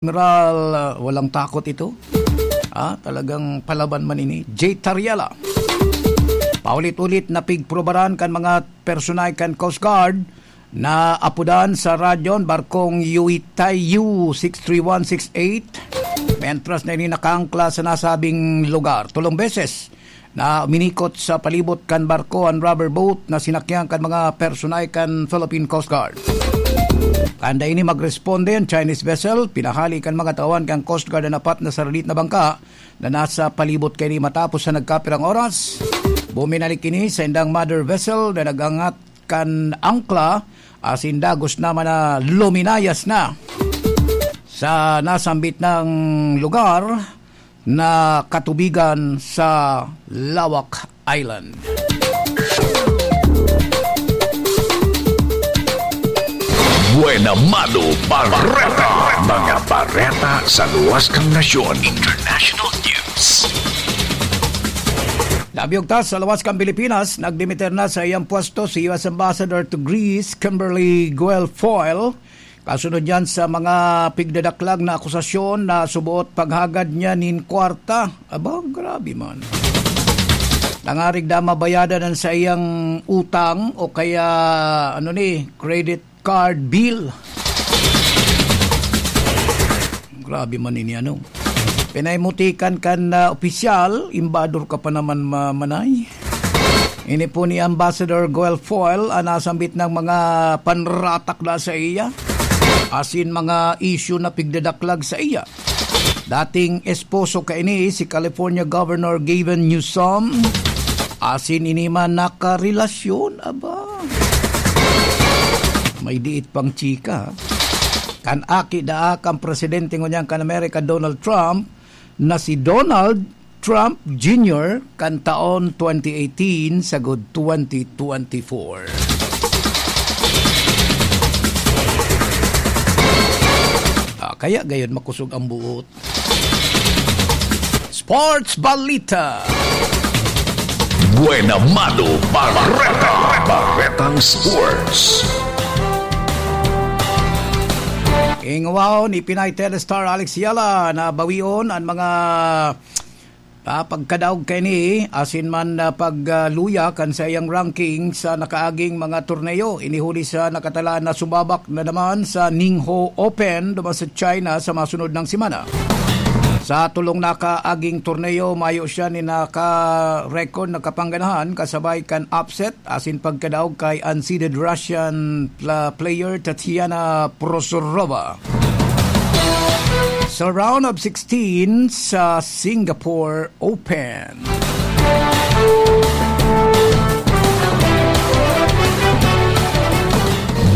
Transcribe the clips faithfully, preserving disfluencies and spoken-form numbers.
Admiral, ah, walang takot ito. Ah, talagang palaban man ini. J Tariela. Paulit-ulit na pigprobaran kan mga personay kan Coast Guard na apodan sa radyon barkong Yuitay U six three one six eight, mentras na ini nakaangkla sa nasabing lugar. Tulong beses na uminikot sa palibot kan barko an rubber boat na sinakyan kan mga personay kan Philippine Coast Guard. Tanda ini magresponde an Chinese vessel, pinahali kan mga tawan kan Coast Guard an apat na saralit na bangka na nasa palibot kaini. Matapos sa nagkapirang oras, buminalik ini sa indang mother vessel na nagangat kan angkla, asin dagos naman na luminayas na sa nasambit na lugar na katubigan sa Lawak Island. Buena Mano Bareta. Mga bareta sa luwas kan nasyon. International News. Nabiyog ta sa luwas kan Pilipinas, nagdimiter na sa iyang pwesto si U S Ambassador to Greece, Kimberly Guilfoyle. Kasunod yan sa mga pigdadaklag na akusasyon na suboot paghagad niya nin kwarta. Aba, grabe man. Nangarig na mabayadan ang sa iyang utang o kaya, ano ni, credit card bill. Grabe man ini, ano. Pinaimutikan kan, ah, opisyal, imbador ka pa naman ma-, manay. Ini po ni Ambassador Guilfoyle, ang nasambit ng mga panratak na sa iya. Asin mga issue na pigdadaklag sa iya. Dating esposo kaini si California Governor Gavin Newsom. Asin ini man nakarelasyon, aba. May diit pang chika. Kan aki daa kan presidente ngunyan kan Amerika, Donald Trump, na si Donald Trump Junior kan taon twenty eighteen sagod twenty twenty-four. Ah, kaya gayon makusog ang buot. Sports Balita. Buena Mano Bareta. Baretang Sports. Ingwaw ni Pinay Telestar Alex Yala na bawion an mga, ah, pagkadaog kaini, asin man, ah, pagluya kan saiyang ranking sa nakaaging mga torneo. Ini huli sa nakatalaan na sumabak na naman sa Ningbo Open duman sa China sa masunod na semana. Sa tolong nakaaging torneo, mayo siya ni naka-record na kapangganahan kasabay kan upset asin pagkadaog kay unseeded Russian pla-, player Tatiana Prosorova. Sa round of sixteen sa Singapore Open.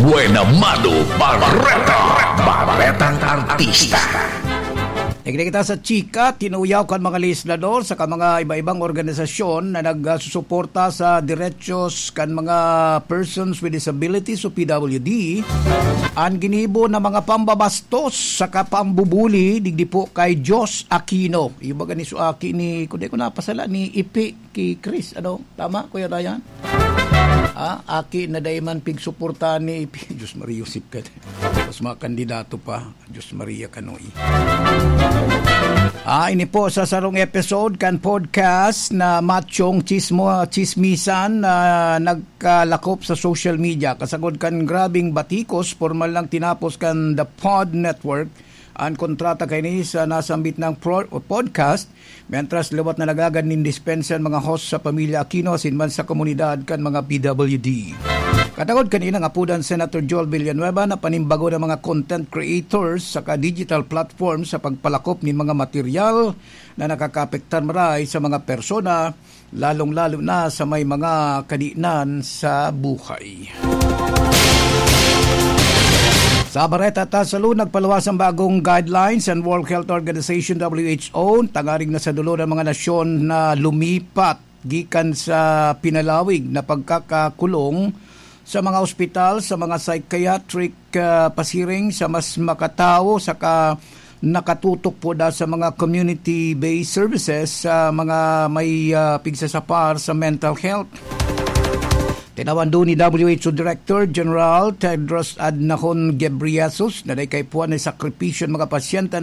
Buena Mano Bareta. Baretang Artista. Igdi kita sa chika, tinuyaw kan mga legislador saka mga iba-ibang organisasyon na nagsusuporta sa derechos kan mga persons with disabilities o P W D, an ginibo na mga pambabastos saka pambubuli digdi po kay Josh Aquino. Iba gani so aki ni, kung di ko napasala, ni Ipi ki Chris. Ano? Tama, Kuya Ryan? Ah, aki na dai man pigsuporta ni Ipi. Diyos Maria, Joseph ka. Tapos mga kandidato pa. Diyos Maria, kanoy. Ah, ini po sa sarong episode kan podcast na Machong Chismo, Chismisan na nagkalakop sa social media. Kasagod kan grabing batikos, formal lang tinapos kan The Pod Network an kontrata kaini sa nasambit na pro-, podcast, mientras liwat na nagagad nin dispensa an mga host sa pamilya Aquino asin man sa komunidad kan mga P W D. Katagod kaini, naapodan Senator Joel Villanueva na panimbagon an mga content creators saka digital platform sa pagpalakop nin mga material na nakakaapektar maray sa mga persona, lalong-lalo na sa may mga kadinan sa buhay. Sa Bareta ta Salud, nagpaluwas ang bagong guidelines ang World Health Organization, W H O, tanganing na sa dulo ng mga nasyon na lumipat gikan sa pinalawig na pagkakakulong sa mga ospital, sa mga psychiatric, ah, pasiring sa mas makatawo, saka nakatutok po da sa mga community-based services sa mga may, ah, pigsasapar sa mental health. Tinawan duon ni W H O Director General Tedros Adhanom Ghebreyesus na dai kaipuhan na sakripisyo an mga pasyente